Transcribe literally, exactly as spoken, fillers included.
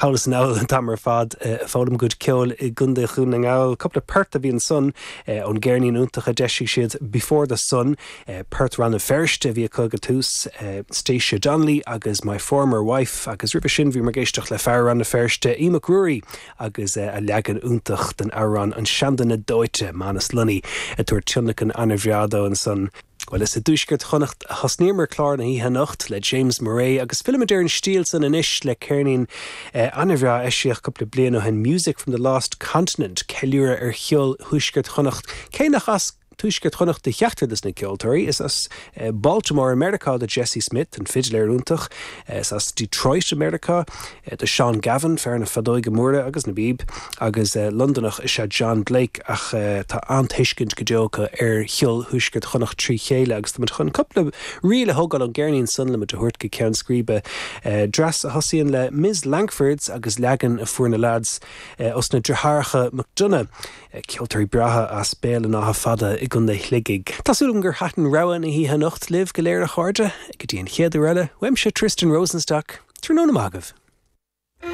Thall is anall an t-am ar fad ag foghlaim a gcuid ceoil i gContae Dhún na nGall. Cúpla port a bhí ansan ón gceirnín iontach a d'eisigh siad Before the Sun, port Rann na Feirste a bhí acu ag tús Stacia Donnelly agus My Former Wife agus roimhe sin bhí muid ag éisteacht le fear Rann na Feirste Aodh Mac Ruairí agus a leagan iontach den amhrán an Seanduine Dóite Manus Lunny ag tabhairt tionlacan an-bhreá dó ansan. Well is i dtuaisceart Chonnacht a thosnaíomar clár na hoíche anocht le James Murray agus fillimid ar an stíl san anois le ceirnín eh, an-bhreá a eisíodh cúpla bliain ó shin Music from the Lost Continent ceiliúradh ar cheol thuaisceart Chonnacht cé nach as tuaisceart Chonnacht do cheachtar de na ceoltóirí is as eh, Baltimore America do Jesse Smith an fidléir iontach eh, is as Detroit America eh, do Sean Gavin fear na feadóige móire agus na bpíob agus Londonach is ea John Blake ach tá an-tuiscint go deo acu ar cheol thuaisceart Chonnacht trí chéile agus tá chun cúpla ríl a thógáil ón gceirnín san le muid a thabhairt go ceann scríbe dreas a thosaíonn le Ms Langfords agus leagan a fuair na lads os na deartháireacha McDonough ceoltóirí breátha as Béal an Átha Fada i gContae Shligigh. Tá súil agam gur thaitin rogha na hoíche anocht libh go léir a chairde, go dtí an chéad uair eile, uaimse Tristan Rosenstock, tráthnóna maith agaibh.